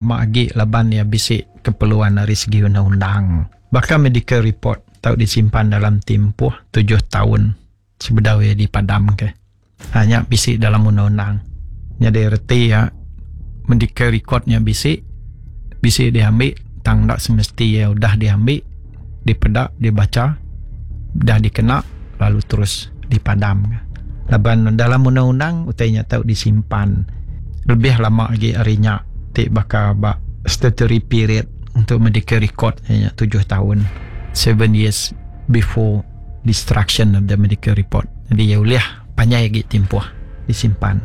Ma agi laban iya bisi keperluan ari segi undang-undang. Baka medical report tau disimpan dalam timpuh tujuh taun sebedau iya dipadamka. Ha nya bisi dalam undang-undang. Nyadi reti iya medical record nya bisi, bisi diambi tang enda semesti iya udah diambi, dipeda, dibacha, udah dikena lalu terus dipadamka. Laban dalam undang-undang utai nya tau disimpan lebih lama agi ari nya ti baka ba statutory period untuk medical record iya nya tujuh taun, seven years before destruction of the medical report. Jadi iya ulih panjai agi timpuh disimpan.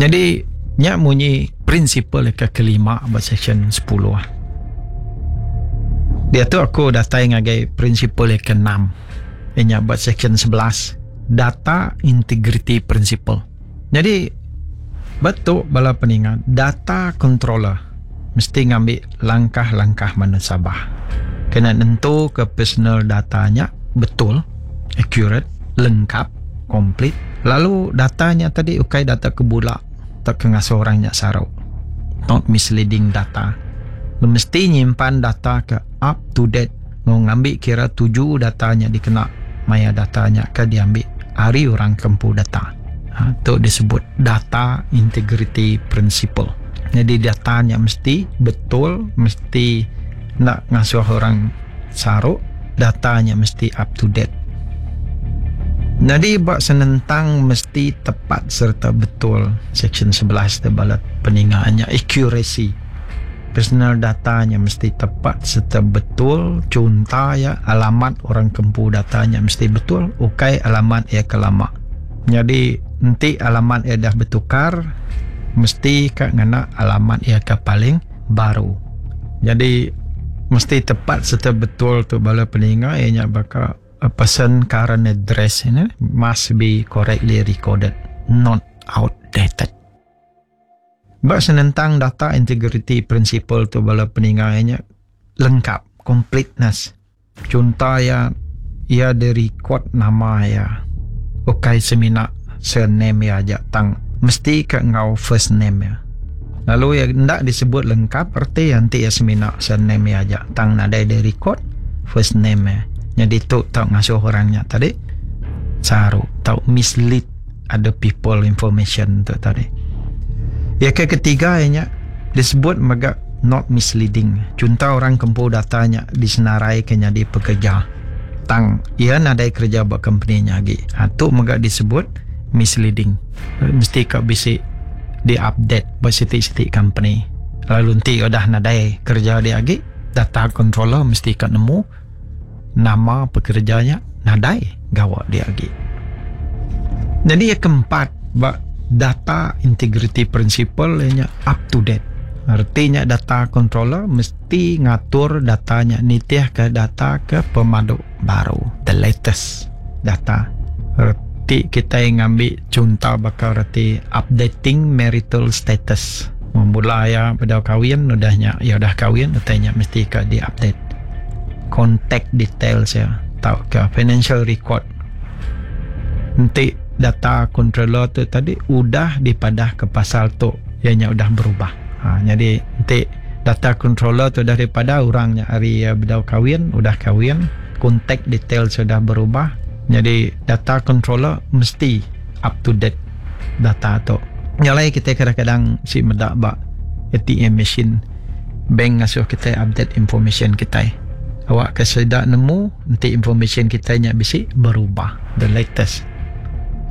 Nyadi nya munyi prinsipal ke kelima ba seksyen sepuluh. Diatu aku datai ngagai prinsipal ke enam iya nya ba seksyen 11, data integrity principle. Nyadi ba tu bala peninga data controller mesti ngambi langkah-langkah munasabah kena nentuka personal data nya betul, accurate, lengkap, complete, lalu data nya tadi ukai data ke bula tauka ngasuh orang nya saru, not misleading data. Mesti nyimpan data ke up to date enggau ngambi kira tuju data nya dikena maya data nya ke diambi ari orang ke empu data. Ha, tu disebut data integrity principle. Jadi data nya mesti betul, mesti enda ngasuh orang saru, data nya mesti up to date. Nyadi ba senentang mesti tepat sereta betul, seksyen 11 tu bala peninga nya accuracy. Personal data nya mesti tepat sereta betul, chunta iya alamat orang ke empu data nya mesti betul ukai alamat iya ke lama. Nyadi enti alamat iya dah betukar mesti ka ngena alamat iya ke paling baru. Nyadi mesti tepat sereta betul tu bala peninga iya nya baka a person current address nya must be correctly recorded not outdated. Ba senentang data integriti principle tu bala peninga iya nya lengkap, completeness. Chunta iya, iya direkod nama iya ukai semina surname iya aja tang mesti ka enggau first name iya. Lalu iya enda disebut lengkap reti iya enti iya semina surname iya aja tang nadai direkod first name iya. Nyadi tu tau ngasuh orang nya tadi saru tau mislead. Other people information tu tadi. Iya ke ketiga iya nya disebut mega not misleading. Chunto orang ke empu data nya disenaraika nyadi pekerja tang iya nadai kereja ba kompeni nya agi. Ha tu mega disebut misleading. Mesti ka bisi di-update ba siti-siti kompeni. Lalu enti udah nadai kereja dia agi, data controller mesti ka nemu nama pekereja nya nadai gawa dia agi. Nyadi iya keempat ba data integrity principle iya nya up to date. Reti nya data controller mesti ngatur data nya nitihka data ke pemadu baru, the latest data. Reti kitai ngambi chunto baka reti updating marital status. Mula iya bedau kawin udah nya iya udah kawin utai nya mesti ka di update. Contact details iya tauka financial record. Enti data controller tu tadi udah dipadah ke pasal tu iya nya udah berubah. Ha nyadi enti data controller tu udah dipadah orang nya ari iya bedau kawin udah kawin contact details udah berubah nyadi data controller mesti up to date data tu. Nya alai kitai kadang-kadang si meda ba ATM machine bank ngasuh kitai update information kitai. Awakka sida nemu enti information kitai nya bisi berubah the latest.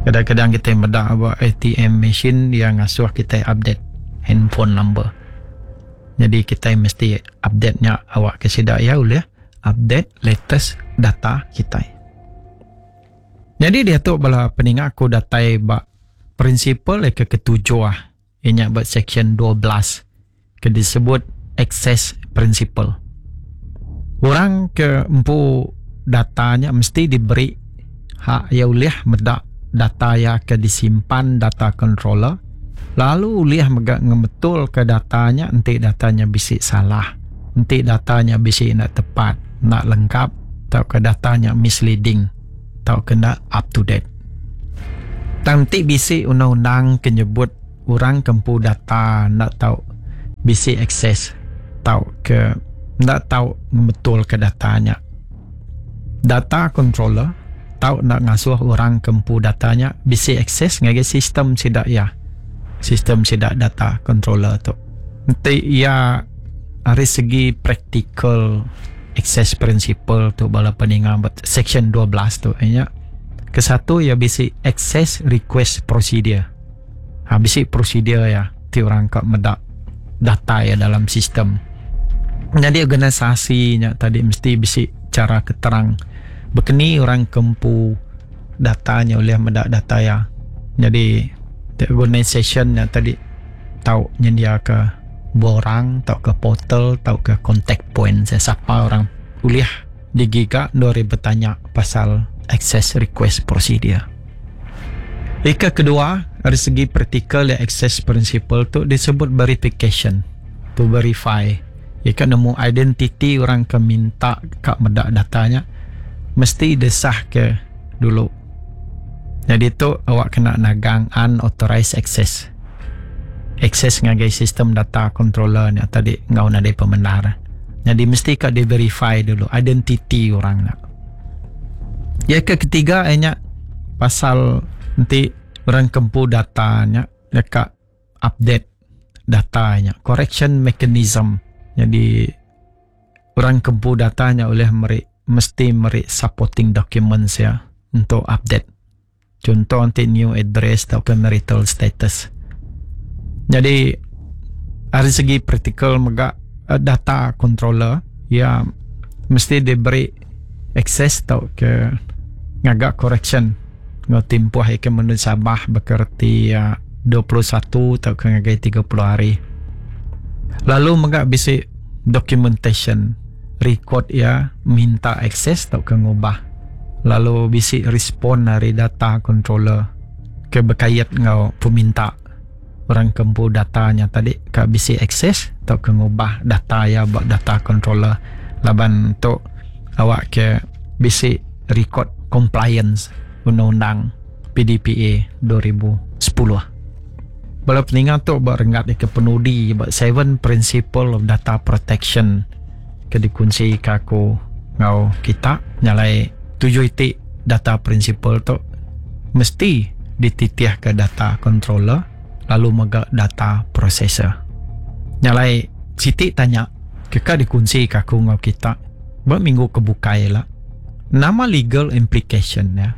Kadang-kadang kitai meda ba ATM machine iya ngasuh kitai update handphone number. Nyadi kitai mesti update nya awakka sida iya ulih update latest data kitai. Nyadi diatu bala peninga aku datai ba prinsipal ke ketujuh iya nya ba seksyen 12 ke disebut access principle. Orang ke empu data nya mesti diberi hak iya ulih meda data iya ke disimpan data controller lalu ulih mega ngemetulka data nya enti data nya bisi salah, enti data nya bisi enda tepat, enda lengkap tauka data nya misleading tauka enda up to date. Tang enti bisi undang-undang ke nyebut orang ke empu data enda tau. bisi akses tauka enda tau ngemetulka data nya. Data controller tau enda ngasuh orang ke empu data nya bisi akses ngagai sistem sida iya. Sistem sida data controller tu. Enti iya ari segi praktikal access principle tu bala peninga ba section 12 tu iya nya kesatu iya bisi access request procedure. Ha bisi prosedur iya ti orang ka meda data iya dalam sistem. Nyadi organisasi nya tadi mesti bisi chara ke terang bekeni orang ke empu data nya ulih meda data iya. Nyadi organisation nya tadi tau nyendiaka borang tauka portal tauka contact point sapa orang ulih digiga endur iya betanya pasal access request procedure. Ika kedua, ari segi praktikal iya access principle tu disebut verification, to verify. Ika nemu identiti orang ke minta ka meda data nya mesti desahka dulu. Nyadi tu awak kena nagang unauthorized access. Access ngagai sistem data controller nya tadi enggau nadai pemendar. Nyadi mesti ka di verify dulu identiti orang nya. Iya ke ketiga iya nya pasal enti orang ke empu data nya deka update data nya correction mechanism. Nyadi orang ke empu data nya ulih meri mesti meri supporting documents iya untuk update. Chunto enti new address tauka marital status. Nyadi ari segi praktikal mega data controller iya mesti diberi akses tauka ngaga correction enggau timpuh iya ke menu Sabah baka reti iya 21 tauka ngagai 30 hari. Lalu mega bisi documentation record iya minta akses tauka ngubah. Lalu bisi respon ari data controller ke bekait enggau peminta orang ke empu data nya tadi ka bisi akses tauka ngubah data iya ba data controller laban tu awak ke bisi record compliance undang-undang PDPA 2010. Bala peninga tu ba renggat ke penudi ba seven principle of data protection ke dikunsi ka aku enggau kita nyalai tuju iti data principle tu mesti dititihka data controller lalu mega data processor. Nyalai siti tanya ke ka dikunsi ka aku enggau kita ba minggu ke bukai ila nama legal implication iya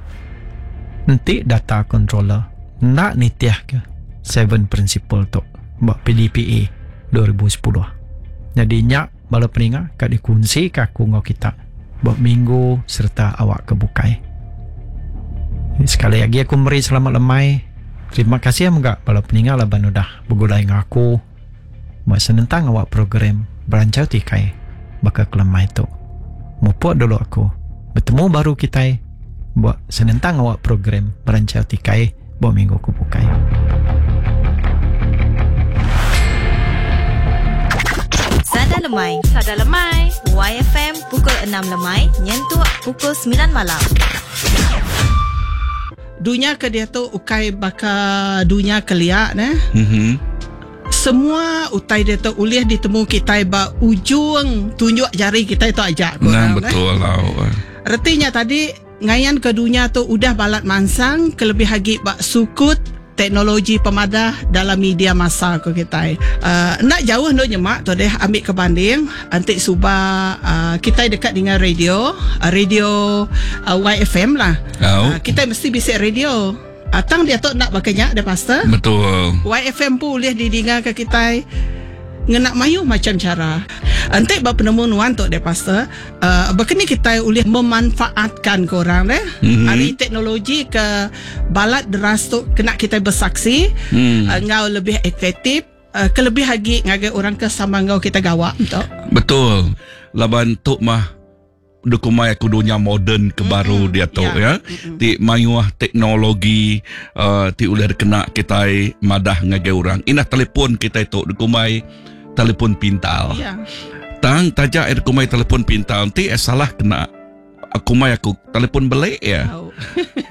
enti data controller enda nitihka seven principle tu ba PDPA 2010. Nyadi nya bala peninga ka dikunsi ka aku enggau kita ba minggu sereta awak ke bukai. Sekali agi aku meri selamat lemai. Terima kasih mega bala peninga laban udah begulai enggau aku ba senentang awak program Beranchau Tikai baka ke lemai tu. Mupuk dulu aku. Betemu baru kitai ba senentang awak program Beranchau Tikai ba minggu ke bukai. Sada Lemai. Sada Lemai. YFM pukul 6 lemai nyentuk pukul 9 malam. Dunya ke diatu ukai baka dunya kelia neh. Mm-hmm. Semua utai diatu ulih ditemu kitai ba ujung tunjuk jari kitai tu aja. Nah, betul lah. Reti nya tadi Ngayan ke dunya tu udah balat mansang kelebih agi ba sukut teknologi pemadah dalam media massa ku kitai. Enda jauh endur nyema tu deh ambi ke banding enti suba kitai deka ninga radio, radio YFM lah. Kitai mesti bisi radio. Tang diatu enda baka nya deh pastor. Betul. YFM pun ulih didinga ke kitai ngena mayuh macam cara. Enti ba penemu nuan tu deh pastor, uh, baka ni kitai ulih memanfaatkan ke orang deh mm-hmm. ari teknologi ke balat deras tu kena kitai bersaksi mm. enggau lebih efektif uh, kelebih agi ngagai orang ke sama enggau kita gawa tu. Betul. Laban tu mah Dukumai aku dunya moden ke baru diatu ya. Ti mayuh teknologi uh, ti ulih dikena kitai madah ngagai orang. Indah telefon kitai tu dikumbai telefon pintar. Yeah. Tang taja iya dikumbai telefon pintar enti iya salah kena. Aku mai aku telefon belik ya.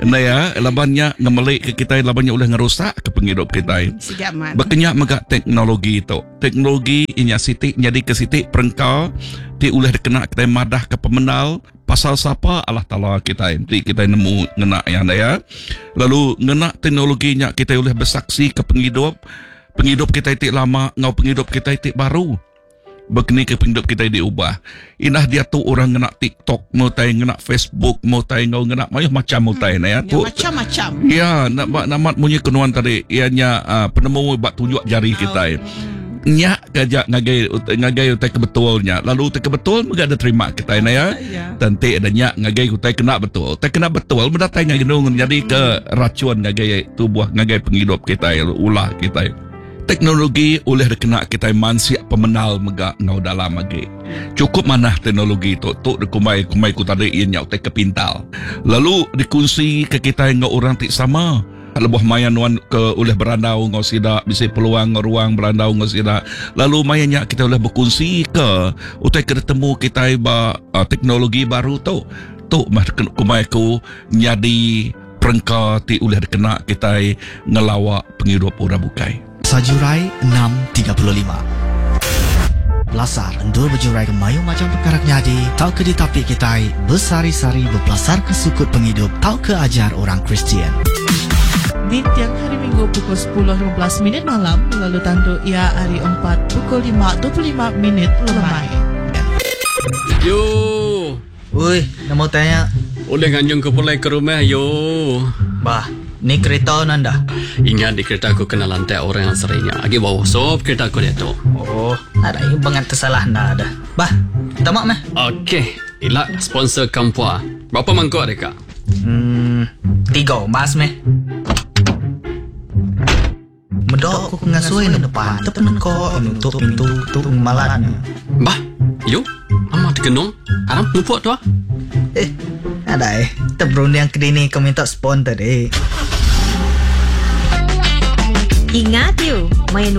Enda ya, laban nya ngemelik ke kitai laban nya ulih ngerusak ke pengidup kitai. Baka nya mega teknologi tu. Teknologi inya siti nyadi ke siti perengka ti ulih dikena kitai madah ke pemendar pasal sapa Allah Taala kitai enti kitai nemu ngena iya enda ya. Lalu ngena teknologi nya kitai ulih besaksi ke pengidup pengidup kitai ti lama enggau pengidup kitai ti baru. Bekeni ke pengidup kitai diubah. Indah diatu orang ngena TikTok meh utai, ngena Facebook meh utai enggau ngena mayuh macham utai ne ya. Tu macam-macam. Ya, nak ba namat munyi ke nuan tadi iya nya uh, penemu ba tunjuk jari kitai. Nya ke aja ngagai ngagai utai ke betul nya. Lalu utai ke betul mega diterima kitai ne ya. Tenti ada nya ngagai utai kena betul. Utai kena betul mendatai ngagai nung nyadi ke racun ngagai tubuh ngagai pengidup kitai ulah kitai. Teknologi ulih dikena kitai mansik pemenal mega enggau dalam agi. Chukup manah teknologi tu. Tu dikumbai kumbai ku tadi iya nya utai ke pintar. Lalu dikunsi ke kitai enggau orang ti sama. Lebuh maya nuan ke ulih berandau enggau sida, bisi peluang enggau ruang berandau enggau sida. Lalu maya nya kitai ulih bekunsi ke utai ke ditemu kitai ba teknologi baru tu. Tu meh kumbai aku nyadi. Perengka ti ulih dikena kitai ngelawa pengidup orang bukai. Sajurai 6:35. Pelasar endur bejuraika mayuh macham pekara ke nyadi tauka ditapi kitai besehari-sehari bepelasarka sukut pengidup tauka ajar orang Kristian. Ninting Hari Minggu pukul 10:15 minit malam lalu tandu iya hari Empat pukul 5:25 minit lemai. Yo. Ui, nama utai nya? Ulih nganjung ku pulai ke rumah yo. Bah, ni kerita nan dah. Ingat di kerita aku kena lantak orang seri nya. Agi bau sop kerita aku diatu. Oh, nadai bangat tersalah enda dah. Bah, tama meh. Okey, ila sponsor kampua. Berapa mangkuk deka? Hmm, tiga umbas meh. Meda ku ke ngasui nepan tepeneka nutup pintu tu ngemalan nya. Bah, yu, nama tegenung? Aram mupuk tua. Eh, nadai. Te berunding kedini ke minta spon tadi. Ingat you, maya nuan.